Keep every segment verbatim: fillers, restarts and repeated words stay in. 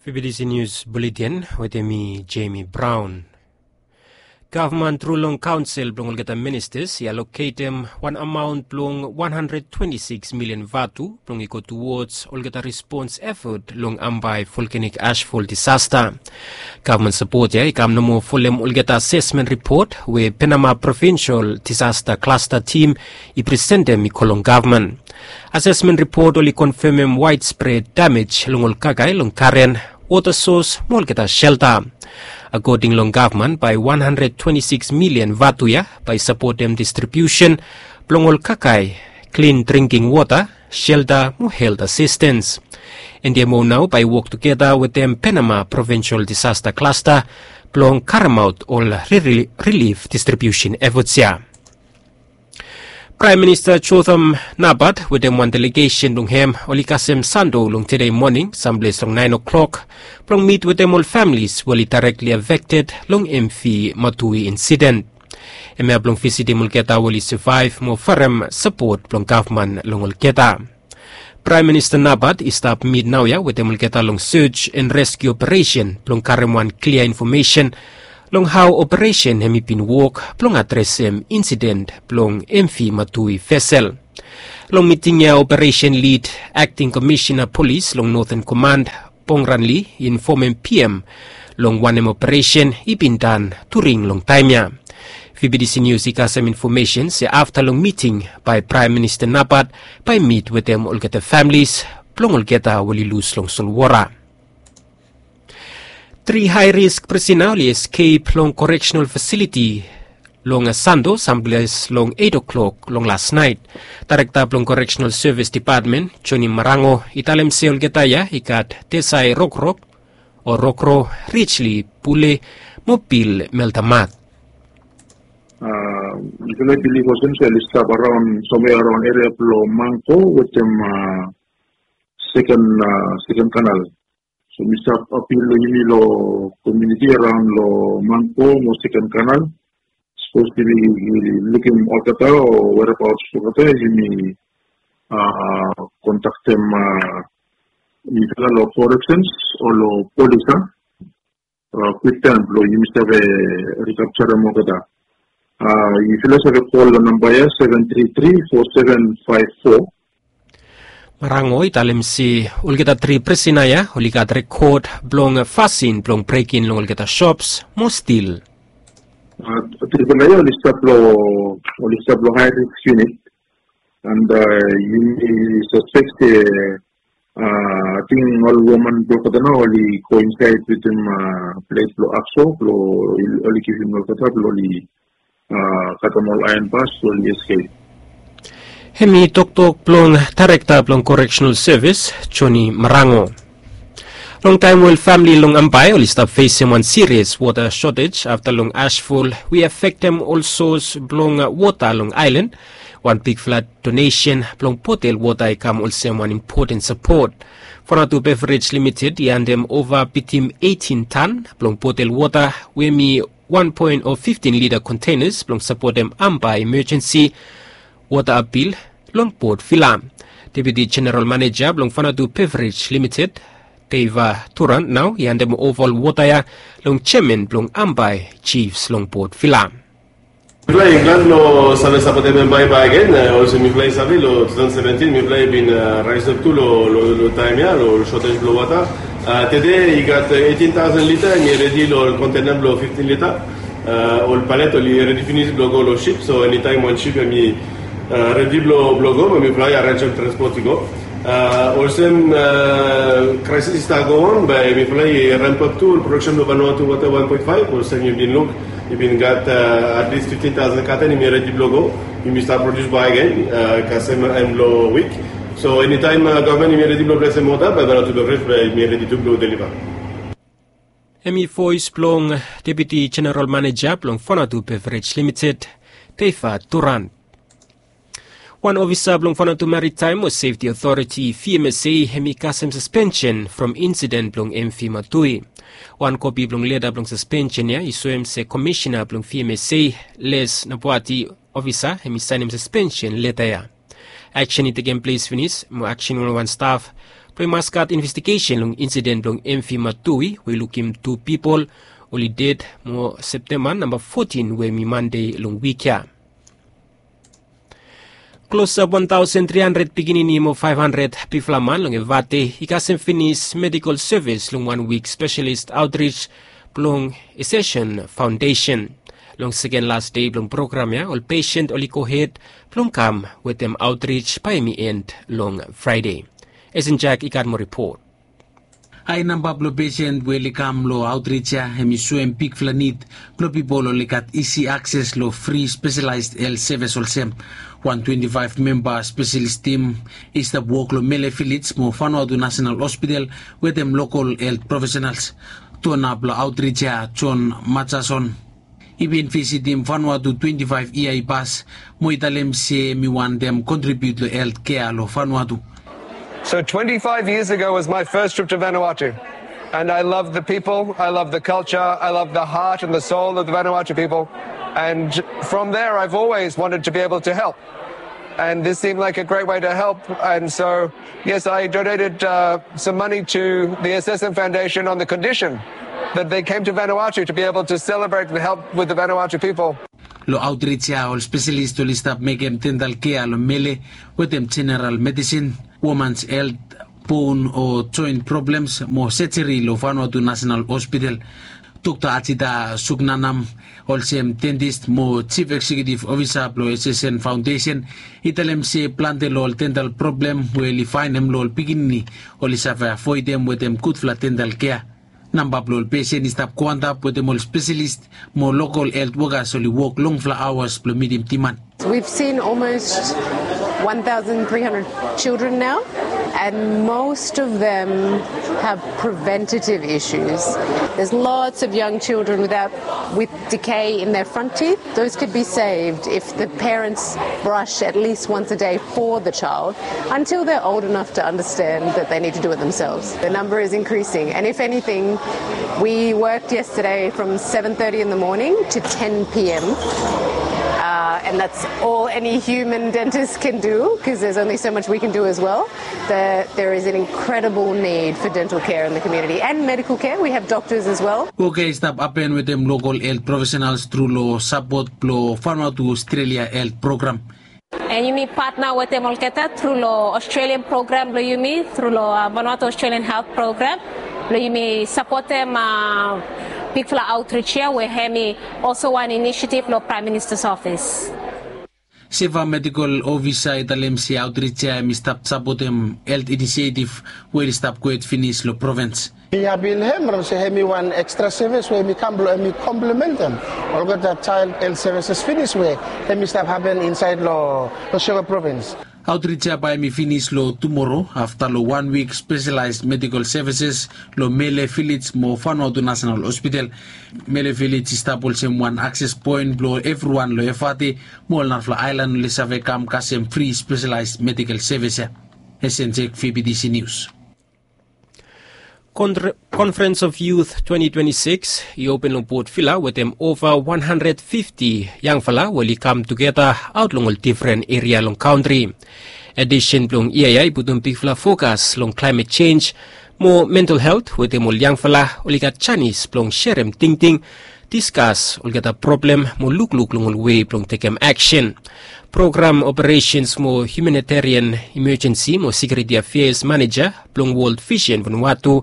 Fibidisi nius buletin wetem mi, Jemi Braun. Gavman tru long kaonsel blong olgeta ministas i aloketem wan amaon blong wan handred twenti siks milian vatu blong i go tuwods olgeta respons efot long Ambae volkanik asfol disasta. Gavman sapot ya i kam nomo folem olgeta asesmen ripot we Penama Provinsol Disasta Klasta Tim i presentem i go long gavman. Asesmen ripot oli konfemem waedspred damej long ol kakae long karen, wota sos mo olgeta selta. Akoding long gavman, bae wan handred twenti siks milian vatu ya bae i sapotem distribiusen blong ol kakae, klin dringking wota, selta mo helt asistens. N D M O nao bae i wok tugeta wetem Penama Provinsol Disasta Klasta blong karemaot ol rilif distribiusen efots ya. Praem Minista Jotham Napat wetem wan delegesen blong hem oli kasem Santo long tede moning samples long naen o'klok blong mit wetem ol familis we oli daerekli afekted long M V Matui insiden. Hemia blong visitim olgeta we oli savaev mo farem sapot blong gavman long olgeta. Praem Minista Napat i stap mit naoia wetem olgeta long sej en reskiu operesen blong karem wan klia infomesen long hao operesen hem i bin wok blong adresem insiden blong M V Matui vesel. Long miting ya operesen lid akting komisena polis long Noten Koman, Pongranli i infomem P M long wanem operesen i bin dan during long taem ya. Fibidisi nius i kasem infomesen se afta long miting bae Praem Minista Napat bae i mit wetem olgeta familis blong olgeta we oli lus long solwora. Tri hae risk prisina oli eskep long koreksenal fasiliti long Santo samples long eit o'klok long las naet. Daerekta blong Koreksenal Sevis Depatmen, Joni Marango, i talem se olgeta ya i gat Tesae Rokrok, o Rokro, Rijli Pule mo Bil Meltamat. Yufala i bilif olsem se oli stap araon, somwea araon eria blong Mangko wetem seken, seken kanal. So mi stap apil long yumi long komuniti araon long Mangko mo seken kanal. Sapos yumi lukim olgeta o whereabouts blong olgeta, yumi kontaktem mifala long koreksens o long polis a kwiktaem blong yumi save rikapjarem olgeta. Yufala save kol long namba ya, seven three three four seven five four. Marango i talem se olgeta tri prisina ya oli gat rekod blong fasin blong brekin long olgeta sops mo stil. Tripela ya oli stap long, oli stap long high risk unit. And yumi saspek se ating ol woman blong olgeta nao oli go insaed wetem ples blong akso blong oli givim olgeta blong oli katem ol aeon bas blong oli eskep. Hem i toktok blong daerekta blong koreksenal sevis, Joni Marango. Long taem we ol famili long Ambae oli stap fesem wan sirias wota sotej afta long asfol we i afektem ol sos blong wota long aelan, wan bigfala donesen blong botel wota i kam olsem wan impoten sapot. Fonatu Beverage Limited i handem ova bitim eitin tan blong botel wota we hem i wan poen o fiftin lita kontenas blong sapotem Ambae emejensi wota apil long Port Vila. Deputi Jeneral Maneja blong Fonatu Beverage Limited, Deiva Turan, nao i handem ova ol wota ya long jeaman blong Ambae Jifs long Port Vila. Mifala i glad long save sapotem Ambae bakegen. Olsem mifala i save long tu taosen seventin mifala i bin raesap tu long taem ya long sotej blong wota. Tede i gat eitin taosen lita, hem i redi long ol kontena blong fiftin lita. Ol palet oli redi finis blong go long sip, so enitaem wan sip hem i redi blong go, be mifala i arenjem transpot i go. Olsem kraesis i stap go on, be mifala i rempap tu ol prodaksen blong Vanuatu Wota wan poen faef, olsem yu bin luk i bin gat atlis fiftin taosen katen hem i redi blong go. Hem i stap produs bakegen kasem en blong wik. So enitaem gavman hem i redi blong blesem wota, be Vanuatu Beverage be hem i redi tu blong deliva. Hem i voes blong Deputi Jeneral Maneja blong Fonatu Beverage Limited, Deiva Turan. Wan ofisa blong Fonatu Maritaem o Sefti Otoriti, V M S A, hem i kasem saspensen from insiden blong M V Matui. Wan kopi blong leta blong saspensen ya i soem se komisena blong V M S A, Les Nabuati, ofisa hem i saenem saspensen leta ya. Aksen i tekem ples finis mo aksen wanwan staf Blong i mas gat investigesen long insiden blong M V Matui we i lukim tu pipol oli ded mo Septemba namba fotin we hem i Mande long wik ya. Klosap wan taosen tri handred pikinini mo faef handred bigfala man long Evate i kasem finis medikol sevis long wan wik spesialis aotrij blong Ascension Faondesen. Long seken las dei blong program ya ol pesen oli gohed blong kam wetem aotrij bae hem i en long Fraede. Esenjak i gat moa ripot. Hae namba blong pesen we oli kam long aotrij ya hem i soem bigfala nid blong pipol oli gat isi akses long fri spesialaes helt sevis olsem wan twenti faef memba spesialis tim i stap wok long Mele Vilej mo Vanuatu Nasenal Hospital wetem lokol helt profesenals. Tona blong aotrij ya Jon Majason i bin visitim Vanuatu twenti faef yia i pas mo i talem se hem i wantem kontribiut long helt kea long Vanuatu. So twenty-five years ago was my first trip to Vanuatu. And I love the people, I love the culture, I love the heart and the soul of the Vanuatu people. And from there, I've always wanted to be able to help. And this seemed like a great way to help. And so, yes, I donated uh, some money to the S S M Foundation on the condition that they came to Vanuatu to be able to celebrate and help with the Vanuatu people. Long aotrij ya ol spesialis oli stap mekem dental kea long mele wetem jeneral medisin, womans helt, bon o joen problems mo sejeri long Vanuatu Nasenal Hospital. Dokta Ajita Suknanam olsem dentis mo jif eksekutif ofisa blong S S N Faondesen i talem se plante long ol dental problem we oli faenem long ol pikinini oli save avoedem wetem gudfala dental kea. Namba blong ol pesen i stap go antap wetem ol spesialis mo lokol helt wokas oli wok longfala aoas blong mitim diman. We've seen almost one thousand three hundred children now, and most of them have preventative issues. There's lots of young children without with decay in their front teeth. Those could be saved if the parents brush at least once a day for the child until they're old enough to understand that they need to do it themselves. The number is increasing, and if anything, we worked yesterday from seven thirty in the morning to ten p.m. Uh, and that's all any human dentist can do, because there's only so much we can do as well. There is an incredible need for dental care in the community and medical care. We have doctors as well. Woka i stap hapen wetem lokol helt profesenals tru long sapot blong Vanuatu Australia helt program. And yumi patna wetem olgeta tru long Australian program blong yumi, tru long uh, Vanuatu Australian Health Program, blong yumi sapotem uh, bigfala outreach ya we hem i also wan initiative long Prime Minister's Office. Seva Medical Officer i talem se outreach ya hem i stap sapotem helt inisiatif we i stap gohed finis long provins. Mi hapi long hem from se hem i wan ekstra sevis we hem i kam blong hem i komplementem olgeta jael helt sevises finis we hem i stap hapen insaed long Shillong provins. Outreach ya bae hem i finis long tumoro afta long wan wik spesialaes medikol sevises long Mele Vilej mo Vanuatu Nasenal Hospital. Mele Vilej i stap olsem wan akses poen blong evriwan long Evate mo ol narafala aelan oli save kam kasem fri spesialaes medikol sevis ya. Esenjek V B T C News. Konfrens of Youth twenti twenti sikis i open long Port Vila wetem ova wan handred fifti yangfala we oli kam tugeta aot long ol difren eria long kantri. Edisen blong yia ya i putum bigfala fokas long klaemet jenj mo mental helt wetem ol yangfala oli gat janis blong serem tingting, diskas olgeta problem mo lukluk long ol wei blong tekem aksen. Program operesens mo hiumanitarian imajensi mo sekiuriti afeas maneja blong World Vision Vanuatu,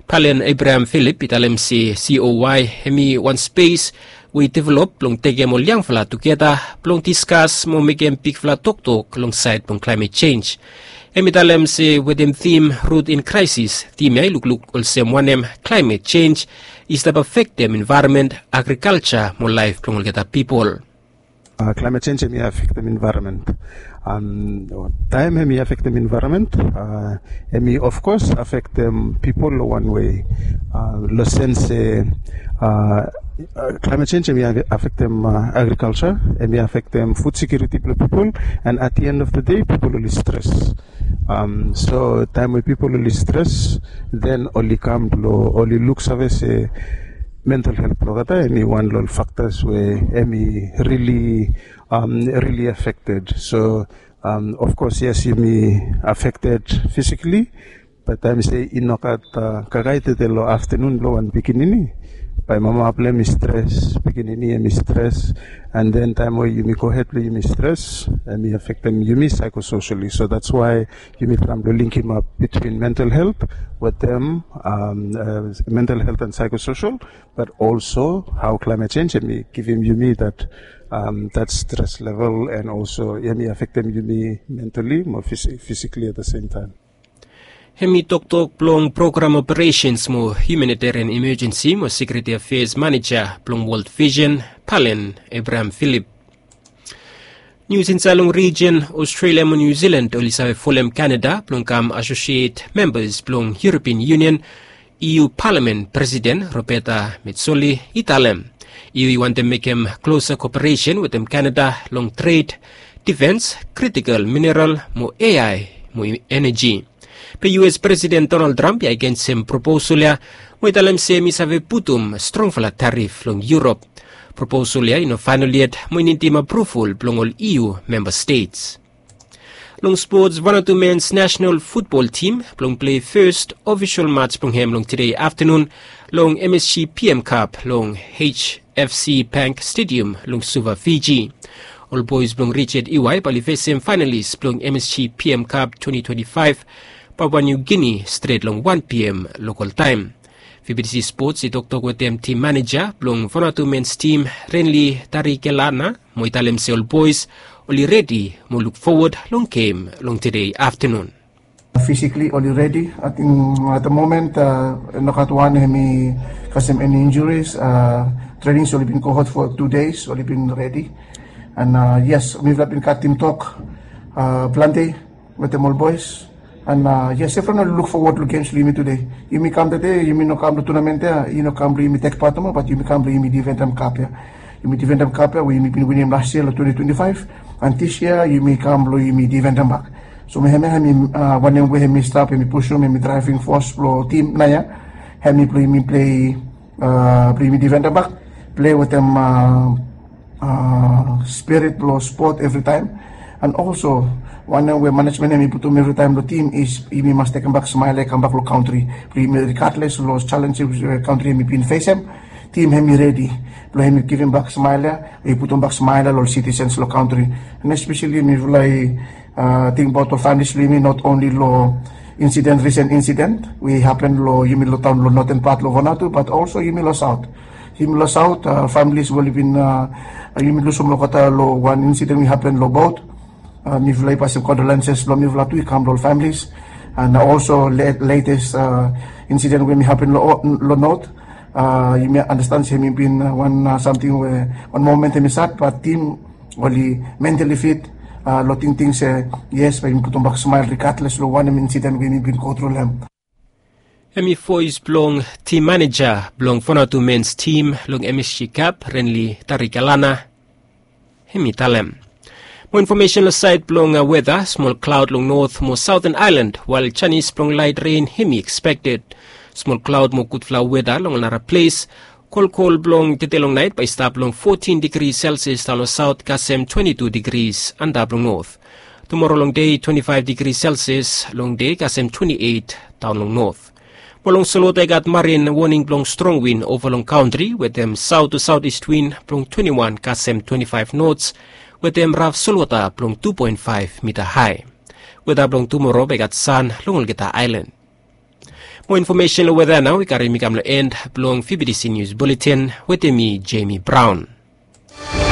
Palen Abraham Philip i talem se C O Y hem i wan spes we i develop blong tekem ol yangfala tugeta blong diskas mo mekem bigfala toktok long saed blong klaemet jenj. Hem i talem se wetem tim Root in Crisis, tim ya i lukluk olsem wanem klaemet jenj i stap afektem envaeronmen, agrikalja mo laef blong olgeta pipol. Klaemet jenj hem i afektem envaeronmen. Taem hem i afektem envaeronmen, hem i ofkos afektem pipol long wan wei, long sens se klaemet jenj hem i afektem agrikalja, hem i afektem fud sekiuriti blong pipol, and at the end of the day pipol oli stres. So taem we pipol oli stres, then oli kam blong oli luksave se mental helt blong olgeta hem i wan long ol faktas we hem i rili, rili afekted. So ofkos yes, yumi afekted fisikali, Bae taem se i no gat kakae tede long aftenun blong wan pikinini, bae mama blong hem i stres, pikinini hem i stres, and then taem we yumi gohed blong yumi stres, hem i afektem yumi psychosocially. So that's why yumi traem blong linkim ap between mental health with them, um, uh, mental health and psychosocial, but also how climate change hem i givim yumi that, um, that stress level, and also hem i afektem yumi mentally mo physically at the same time. Hem i toktok blong program operations mo humanitarian emergency mo security affairs maneja blong World Vision, Palen Abraham Philip. Nius insaed long rijin, Australia mo New Zealand oli save folem Canada blong kam associate members blong European Union. E U Palamen Presiden Roberta Metsola i talem E U i wantem mekem klosa koperesen wetem Canada long tred, difens, kritikal mineral mo A I mo eneji. Be U S Presiden Donald Trump i agensim proposal ya, mo i talem se hem i save putum strongfala tarif long Europe. Proposal ya i no faenol yet mo i nidim apruval blong ol E U memba stets. Long spots, Vanuatu mens nasenal futbol tim blong plei fes ofisol mats blong hem long tede aftenun long M S G P M Cup long H F C Bank Stadium long Suva, Fiji. Ol boes blong Richard Iwai bae oli fesem faenalis blong M S G P M Cup twenty twenty-five, Papua New Guinea, stret long wan P M lokal taem. V B T C Sports i toktok wetem tim maneja blong Vanuatu mens tim, Renly Tarikelana, mo i talem se ol boes oli redi mo luk fowod long gem long tede aftenun. Physically oli redi. Ating at the moment, uh, no gat wan hem i kasem eni injuries. Uh, trainings oli bin gohed for two days, oli bin redi. And, uh, yes, mifala bin gat tim tok, uh, plante wetem ol boes. And, uh, yes, evriwan oli luk fowod long gems blong yumi tude. Yumi kam tede, yumi no kam long tournament ya, i no kam blong yumi tek pat nomo, bat yumi kam blong yumi difendem kap ya. Yumi difendem kap ya we yumi bin winim las yia long twenty twenty-five. And this year yumi kam blong yumi difendem bak. So hemia hem i, uh, wanem we hem i stap, hem i pusum, hem i draeving fos blong tim naoia. Hem i blong yumi plei, uh, blong yumi difendem bak, plei wetem, uh, uh, spirit blong spot evritaem. And also, wanem we manejmen hem i putum evritaem long tim is yumi mas tekem bak smael ya i kam bak long kantri blong yumi, regardless long challenges we kantri hem i bin fesem. Tim hem i redi blong hem i givim bak smael ya, i putum bak smael ya long ol sitisens long kantri. And especially mifala i, uh, tingbaot ol families blong yumi, not only long incident, recent incident we hapen long yumi long taon long noten pat long Vanuatu, but also yumi long saot. Yumi long saot, uh, families we oli bin, uh, yumi lusum olgeta long wan incident we hapen long bot. Uh, mifala i pasem condolences blong mifala tu i kam long ol families. And also latest, uh, incident we hem i hapen long, long not, uh, yumi anastan se hem i bin, uh, wan, uh, samting we wan momen hem i sad, bat tim oli mentally fit, uh, long tingting se yes, bae yumi putum bak smael regardless long wanem incident we yumi bin go tru long hem. Hem i voes blong tim maneja blong Vanuatu mens tim long M S G Cup, Renly Tarikelana, hem i talem. Mo infomesen long saed blong, uh, weta, smol klaod long not mo saoten aelan, wael janis blong laet ren hem i ekspekted. Smol klaod mo gudfala weta long ol nara ples. Kolkol blong tede long naet bae i stap long fotin digri Celsius daon long saot kasem twenti tu digri antap long not. Tumoro long dei twenti faef digri Celsius long dei kasem twenti eit daon long not. Mo long solwota i gat marin woning blong strong win ova long kantri wetem saot tu saot ist win blong twenti wan kasem twenti faef nots wetem raf solwota blong tu poen faef mita hae. Weta blong tumoro bae i gat san long olgeta aelan. Mo infomesen long weta nao i karim mi kam long en blong V B T C Nius Buletin wetem mi, Jamie Brown.